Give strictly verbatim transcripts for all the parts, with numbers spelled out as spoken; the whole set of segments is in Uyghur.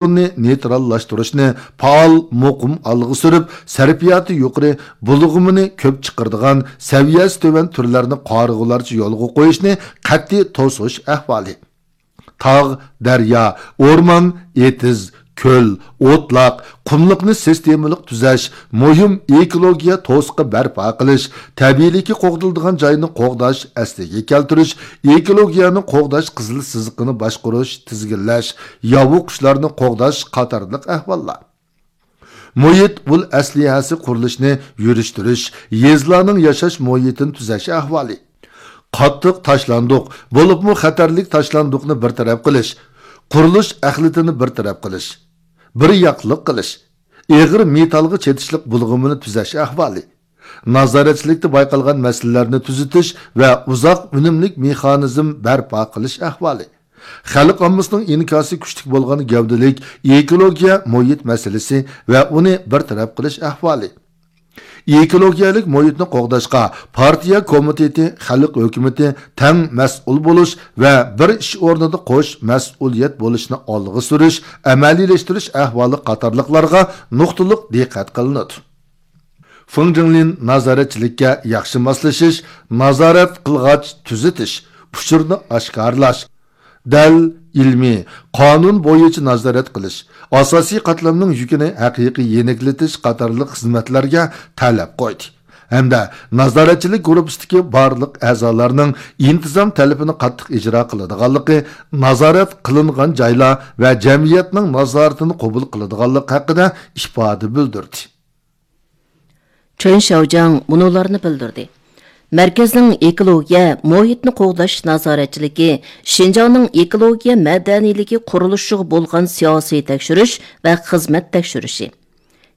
ئورنى نېيتراللاشتۇرۇشنى پائال، مۇقىم ئالغا سۈرۈپ، سەرپىياتى يۇقىرى، بۇلغىمىنى كۆپ چىقىرىدىغان، سەۋىيەسى تۆۋەن تۈرلەرنى قارىغۇلارچە يولغا قويۇشنى قەتئىي توسۇش ئەھۋالى. تاغ، دەريا، ئورمان، ئېتىز، كۆل، ئوتلاق، قۇملۇقنى سىستېمىلىق تۈزەش، مۇھىم ئېكولوگىيە توسۇقى بەرپا قىلىش، تەبىئىيلىكى قوغدىلىدىغان جاينى قوغداش، ئەسلىگە كەلتۈرۈش، ئېكولوگىيەنى قوغداش قىزىل سىزىقىنى باشقۇرۇش، تىزگىنلەش، ياۋا قۇشلارنى قوغداش قاتارلىق ئەھۋاللار. مۇھىت ئۇل ئەسلىھەسى قۇرۇلۇشىنى يۈرۈشتۈرۈش، يېزىلارنىڭ ياشاش مۇھىتىنى تۈزەش ئەھۋالى. قاتتىق تاشلاندۇق، بولۇپمۇ خەتەرلىك تاشلاندۇقنى بىر تەرەپ قىلىش، قۇرۇلۇش ئەخلىتىنى بىر تەرەپ قىلىش، بىر ياقلىق قىلىش، ئېغىر مېتالغا چېتىشلىق بۇلغىمىنى تۈزەش ئەھۋالى. نازارەتچىلىكتە بايقالغان مەسىلىلەرنى تۈزىتىش ۋە ئۇزاق ئۈنۈملۈك مېخانىزم بەرپا قىلىش ئەھۋالى. خەلق ئاممىسىنىڭ ئىنكاسى كۈچلۈك بولغان گەۋدىلىك ئېكولوگىيە مۇھىت مەسىلىسى ۋە ئۇنى بىر تەرەپ قىلىش ئەھۋالى. ئېكولوگىيەلىك مۇھىتنى قوغداشقا پارتىيە كومىتېتى، خەلق ھۆكۈمىتى تەڭ مەسئۇل بولۇش ۋە بىر ئىش ئورنىدا قوش مەسئۇلىيەت بولۇشنى ئالغا سۈرۈش، ئەمەلىيلەشتۈرۈش ئەھۋالى قاتارلىقلارغا نۇقتىلىق دىققەت قىلىنىدۇ. فېڭ جىڭلىن نازارەتچىلىككە ياخشى ماسلىشىش، نازارەت قىلغاچ تۈزىتىش، ئۇچۇرنى ئاشكارىلاش، دەل، ئىلمىي، قانۇن بويىچە نازارەت قىلىش، ئاساسىي قاتلامنىڭ يۈكىنى ھەقىقىي يېنىكلىتىش قاتارلىق خىزمەتلەرگە تەلەپ قويدى ھەمدە نازارەتچىلىك گۇرۇپپىسىدىكى بارلىق ئەزالارنىڭ ئىنتىزام تەلىپىنى قاتتىق ئىجرا قىلىدىغانلىقى، نازارەت قىلىنغان جايلار ۋە جەمئىيەتنىڭ نازارىتىنى قوبۇل قىلىدىغانلىقى ھەققىدە ئىپادە بىلدۈردى. چېن شياۋجياڭ مۇنۇلارنى بىلدۈردى: مەركەزنىڭ ئېكولوگىيە، مۇھىتنى قوغداش نازارەتچىلىكى شىنجاڭنىڭ ئېكولوگىيە مەدەنىيلىكى قۇرۇلۇشىغا بولغان سىياسىي تەكشۈرۈش ۋە خىزمەت تەكشۈرۈشى.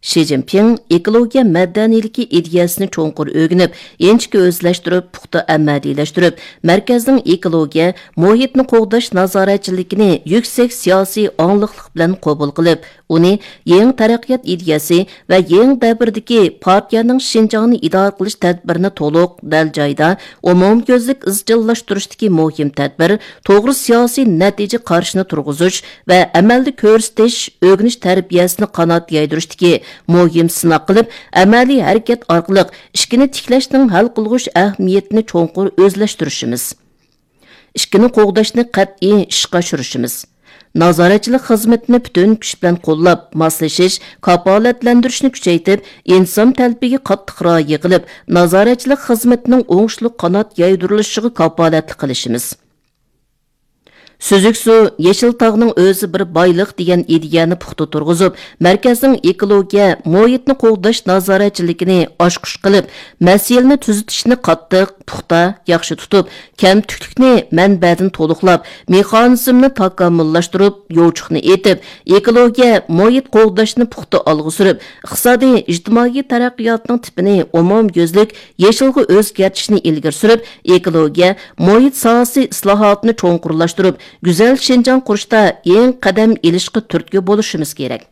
شى جىنپىڭ ئېكولوگىيە مەدەنىيلىكى ئىدىيەسىنى چوڭقۇر ئۆگىنىپ، ئىنچىكە ئۆزلەشتۈرۈپ، پۇختا ئەمەلىيلەشتۈرۈپ، مەركەزنىڭ ئېكولوگىيە، مۇھىتنى قوغداش نازارەتچىلىكىنى يۈكسەك سىياسىي ئاڭلىقلىق بىلەن قوبۇل قىلىپ، ئۇنى يېڭى تەرەققىيات ئىدىيەسى ۋە يېڭى دەۋردىكى پارتىيەنىڭ شىنجاڭنى ئىدارە قىلىش تەدبىرىنى تولۇق، دەل جايىدا، ئومۇميۈزلۈك ئىزچىللاشتۇرۇشتىكى مۇھىم تەدبىر، توغرا سىياسىي نەتىجە قارىشىنى تۇرغۇزۇش ۋە ئەمەلدە كۆرسىتىش، ئۆگىنىش تەربىيەسىنى قانات يايدۇرۇشتىكى مۇھىم سىناق قىلىپ، ئەمەلىي ھەرىكەت ئارقىلىق ئىككىنى تىكلەشنىڭ ھەل قىلغۇچ ئەھمىيىتىنى چوڭقۇر ئۆزلەشتۈرۈشىمىز. ئىككىنى قوغداشنى قەتئىي ئىشقا ئاشۇرۇشىمىز. نازارەتچىلىك خىزمىتىنى پۈتۈن كۈچ بىلەن قوللاپ، ماسلىشىش، كاپالەتلەندۈرۈشنى كۈچەيتىپ، ئىنسان تەلىپىگە قاتتىق رىئايە قىلىپ، نازارەتچىلىك خىزمىتىنىڭ ئوڭۇشلۇق قانات يايدۇرۇلۇشىغا كاپالەتلىك قىلىشىمىز. سۈزۈك سۇ، يېشىل تاغنىڭ ئۆزى بىر بايلىق دېگەن ئىدىيەنى پۇختا تۇرغۇزۇپ، مەركەزنىڭ ئېكولوگىيە، مۇھىتنى قوغداش نازارەتچىلىكىنى ئاچقۇچ قىلىپ، مەسىلىنى تۈزىتىشنى قاتتىق، پۇختا، ياخشى تۇتۇپ، كەمتۈكلۈكنى مەنبەدىن تولۇقلاپ، مېخانىزمنى تاكامۇللاشتۇرۇپ، يوچۇقنى ئېتىپ، ئېكولوگىيە، مۇھىت قوغداشنى پۇختا ئالغا سۈرۈپ، ئىقتىسادىي، ئىجتىمائىي تەرەققىياتنىڭ تىپىنى ئومۇميۈزلۈك يېشىلغا ئۆزگەرتىشنى ئىلگىرى سۈرۈپ، ئېكولوگىيە، مۇھىت ساھەسى ئىسلاھاتىنى چوڭقۇرلاشتۇرۇپ، گۈزەل شىنجاڭ قۇرۇشتا يېڭى قەدەم ئېلىشقا تۈرتكە بولۇشىمىز كېرەك.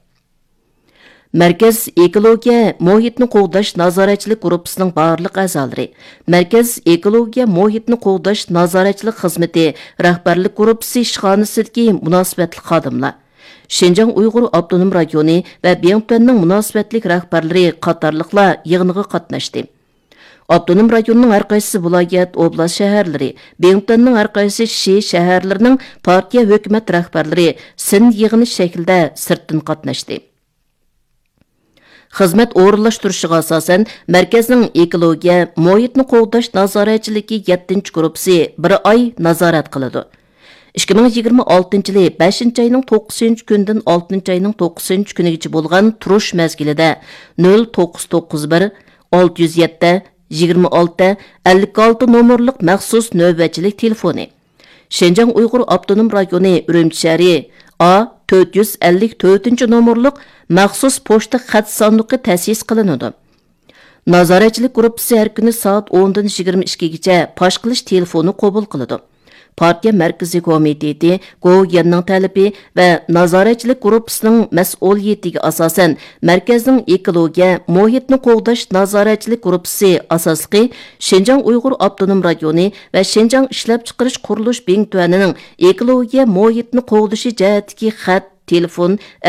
مەركەز ئېكولوگىيە مۇھىتنى قوغداش نازارەتچىلىك گۇرۇپپىسىنىڭ بارلىق ئەزالىرى، مەركەز ئېكولوگىيە مۇھىتنى قوغداش نازارەتچىلىك خىزمىتى رەھبەرلىك گۇرۇپپىسى ئىشخانىسىدىكى مۇناسىۋەتلىك خادىملار، شىنجاڭ ئۇيغۇر ئاپتونوم رايونى ۋە بىڭتۈەننىڭ مۇناسىۋەتلىك رەھبەرلىرى قاتارلىقلار يىغىنغا قاتناشتى. ئاپتونوم رايوننىڭ ھەرقايسى ۋىلايەت، ئوبلاست شەھەرلىرى، بىڭتۈەننىڭ ھەرقايسى شى شەھەرلىرىنىڭ پارتىيە، ھۆكۈمەت رەھبەرلىرى سىن يىغىنى شەكلىدە سىرتتىن قاتناشتى. خىزمەت ئورۇنلاشتۇرۇشىغا ئاساسەن، مەركەزنىڭ ئېكولوگىيە، مۇھىتنى قوغداش نازارەتچىلىكى يەتتىنچى گۇرۇپپىسى بىر ئاي نازارەت قىلىدۇ. ئىككى مىڭ يىگىرمە ئالتىنچى يىلى بەشىنچى ئاينىڭ توققۇزىنچى كۈنىدىن ئالتىنچى ئاينىڭ توققۇزىنچى كۈنىگىچە بولغان تۇرۇش مەزگىلىدە نۆل توققۇز توققۇز بىر، ئالتە يۈز يەتتە، يىگىرمە ئالتە، ئەللىك ئالتە نومۇرلۇق مەخسۇس نۆۋەتچىلىك تېلېفونى، شىنجاڭ ئۇيغۇر ئاپتونوم رايونى ئۈرۈمچى شەھىرى ئا تۆت يۈز ئەللىك تۆتىنچى نومۇرلۇق مەخسۇس پوچتا خەت ساندۇقى تەسىس قىلىنىدۇ. نازارەتچىلىك گۇرۇپپىسى ھەر كۈنى سائەت ئوندىن يىگىرمە ئىككىگىچە پاش قىلىش تېلېفونى قوبۇل قىلىدۇ. پارتىيە مەركىزىي كومىتېتى، گوۋۇيۈەننىڭ تەلىپى ۋە نازارەتچىلىك گۇرۇپپىسىنىڭ مەسئۇلىيىتىگە ئاساسەن، مەركەزنىڭ ئېكولوگىيە، مۇھىتنى قوغداش نازارەتچىلىك گۇرۇپپىسى ئاساسلىقى شىنجاڭ ئۇيغۇر ئاپتونوم رايونى ۋە شىنجاڭ ئىشلەپچىقىرىش قۇرۇلۇش بىڭتۈەنىنىڭ ئېكولوگىيە مۇھىتنى قوغدىشى جەھەتتىكى خەت، تېلېفون